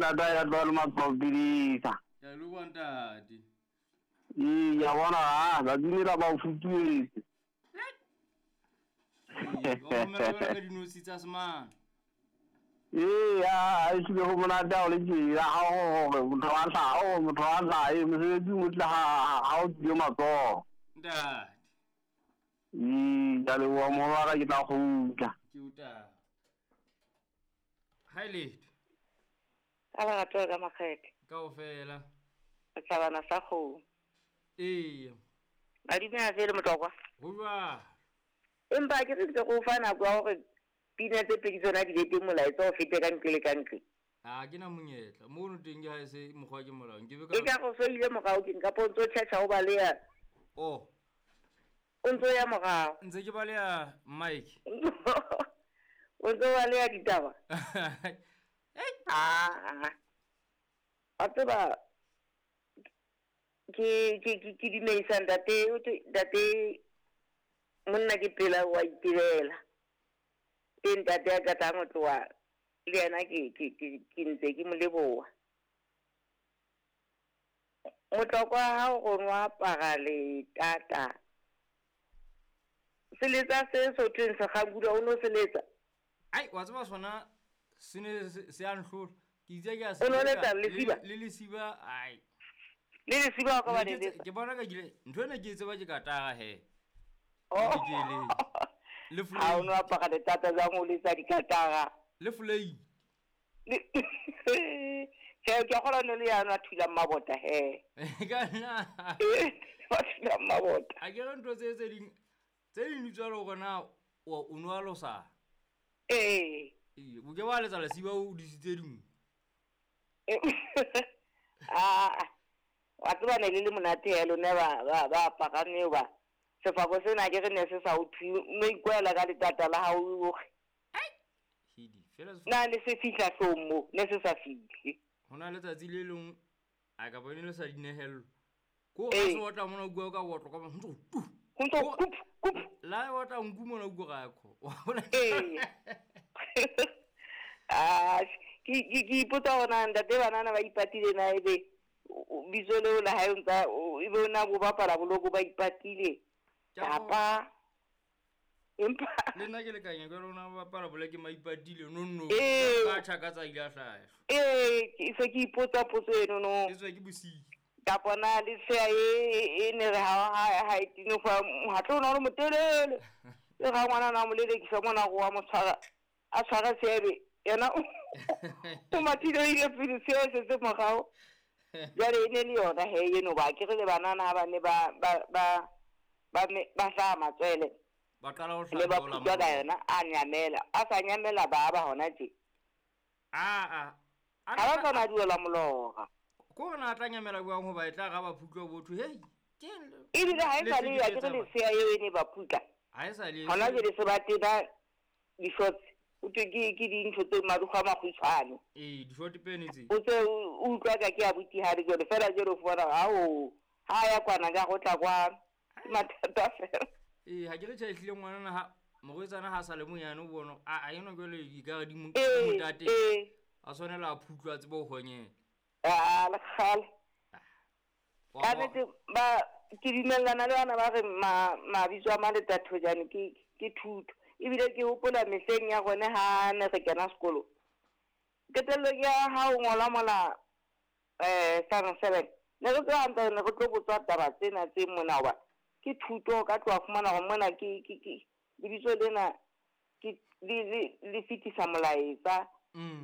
Tata ya tloa le matshwao pidisa. Ke a leboha ntate. Ee, ke a bona ha tsatsi lela ba o futuetse. Ee, ba romela jwalo ka dinotshi tsa semane. Ee, a ehlile ho monate ha o le tjena ha o hore motho wa hlaha, o motho wa hlaha, ee, mosebetsi o motle ha ha o tswile matsoho. Ntate. Ee, ke a leboha moholo wa ka ke tla kgutla. Ke o taba. Ha e letho. Ka lerato ka makgethe. Kaofela. Setlhabana sa kgomo. Eya. Madume a fele motlokwa. Ho jwalo. Empa ke re ntse go fa nako ya gore pina tse pedi tsona di be teng molaetsa o fete ka ntle le ka ntle. A ke na monyetla. Mono teng ke ha e se mokgwa ke molao. Nke be ka E ka go so ile morao ke nka pontso tjhatjha o baleya. Oh. O ntso ya morao. Ntse ke baleya Mike. O ntso baleya ditaba. Ah. Wa tseba ke ke ke ke dumedisa ntate o thwe ntate monna ke pela wa itebela. Ke ntate ya qetang ho tloha le yena ke ke ke ke ntse ke mo leboha. Motlokwa ha o ronwa apara letata. Seletsa se sothweng sekgangula o no seletsa. Ai, wa tseba sona se ne se a nhlola. Ke itse ke a se O no letsa lesiba? Le lesiba ai. Le lesiba o ka ba Ne ke letsa. Ke bona ka kile ntho ena ke e tseba ke katara he. Oh. Ke le. Le Ha o flei. no apara letata jwang o letsa dikatara. Le flei. Tjhe, ke a kgolwa ne le yana a thulang mabota he. Ka nna. Wa thulang mabota. A ke re ntho tse tse ding tse ding di tswa le hore na o no a losa. Ee. Ee, o ke wa letsa lesiba o disitse dingwe. Ah, wa tseba ne le le monate he lona ba ba ba aparang eo ba. Sefako sena ke re ne se sa o thwe, o no ikwela ka letata la hao o re. Hidi, fela Na ne se fihla hloohong moo, ne se sa fihle. Ho na letsatsi le leng a ka bone le sa dinehelo. Ko Ee. ha se otla mona bua ka otlo ka ntso tu. Ho ntso kup kup. La otla nku mona bua ka kho. Wa bona? Ee. Ah, ke ke ke ipotsa hore na ntate banana ba ipatile na ebe bitso leo la hae o ntsa ebe o na bo bapala boloko ba ipatile. Kapa empa le nna ke lekanya ke lona ba bapala boleke maipatile no no. Ee. Ka tjhaka tsa ile a hlaha. Ee, ke se ke ipotsa potso eno no. E tswa ke bosiu. Kapa na le sea e ne re ha ha ha e tino fa ha tlo na le motelele. Le ga ngwana na mo lelekisa mona go wa mo tshwara. A tshwara seebe yena o mathile o ile pele seo se se morao. Jwale e ne le yona he eno ba ke re le banana ha ba ne ba ba ba ba me ba hlaha matswele. Ba qala ho Le ba hlaha phutwa ka yona a nyamela. A sa nyamela ba ba hona tje. A a. Ha ba sa na duela molora. Ko na tla nyamela jwang hoba e tla ga ba phutlwa botho. Hei. Ke Ebile ha e sa le ya ke re lesea eo e ne ba phutla. Ha e sa le. Hona jwale se ba tena di-shorts. O thwe ke ke dintho tse marukgwe a makgutshwane. Ee, di-short pene tse. O tse o utlwa ka ke abuti ha le jwale fela jwale o fumana hao ha ya kwana ka go tla kwa. Ke mathata fela. Ee, ha ke re tjhe ehlile ngwanana ha morwetsana ha sa le monyane o bona a eno jwale di ka re di mo Ee, motate. ee. A tshwanela a phutlwa a tsebe ho honyela. Ah, le kgale. Ka nnete ba ke dumellana le bana ba re mabitso a Maletathojane ke ke thuto. Ebile ke hopola mehleng ya rona ha ne re kena sekolo. Qetellong ya ha o ngola mola standard 7. Ne re tseba hantle ne re tlo botswa taba tsena tse mona hoba ke thuto ka tloha fumana hore mona ke ke ke lebitso lena ke le le le fetisa molaetsa.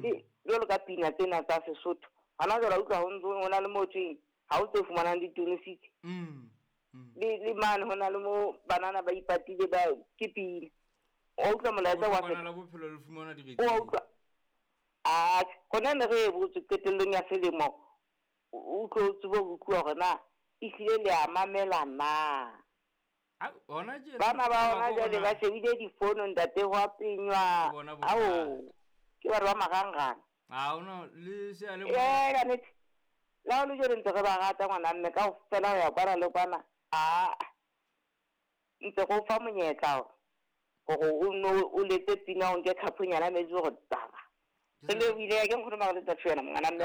Le jwalo ka pina tsena tsa Sesotho. Hona jwale utlwa ho ntso ho na le mo thweng ha o tse fumanang ditonositse. Le le mane ho na le mo banana ba ipatile ba ke pina. O utlwa molaetsa wa Bona la bophelo le fumana diretse. O utlwa. Ah, hona ne re botswe qetellong ya selemo. O tlo tsebe ho utlwa hore na ehlile le a mamela na. A hona tje. Bana ba hona jwale ba shebile difono ntate ho a penywa. Ao. Ke batho ba marangrang. A ona le se a le. Ee, ka nnete. Le ha o le jwale ntse re ba rata ngwana mme kaofela ho ya kwana le kwana. Ah. Ntse go fa monyetla hore o no o letse pina o nke khaponyana metsi hore taba. Re lebohile ke nkgono Maletathojana ngwana mme.